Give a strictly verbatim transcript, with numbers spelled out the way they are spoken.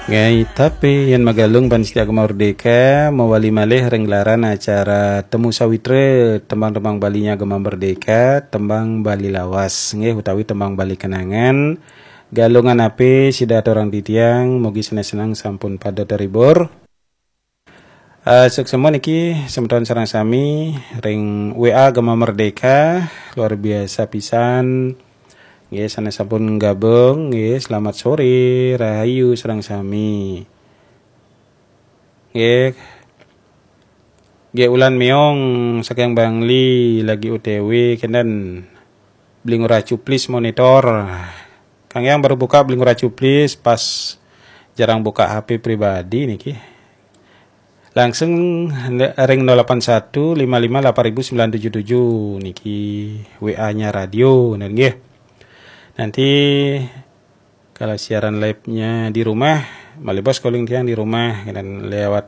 Nggih, tapi yen magalung panitia Gema Merdeka, mawali malih ring gelaran acara Temu Sawitra, tembang-tembang Balinya Gema Merdeka, tembang Bali lawas, nggih, utawi tembang Bali kenangan. Galungan api sida aturang titiang, mugi seneng-seneng sampun pada terhibur. Eh, suksma niki semeton sareng sami ring W A Gema Merdeka, luar biasa pisan. Nggih, sanes sampun gabung, nggih, selamat sore, rahayu sareng sami. Nggih. Nggih, Ulan Meong saking Bangli lagi O T W kenten beli ngurah cuplis monitor. Kang Yang baru buka beli ngurah cuplis pas jarang buka H P pribadi niki. Langsung ring nol delapan satu lima lima delapan ribu sembilan tujuh tujuh niki W A-nya radio, nggih. Nanti kalau siaran live-nya di rumah, malih bos calling tiang di rumah, dan lewat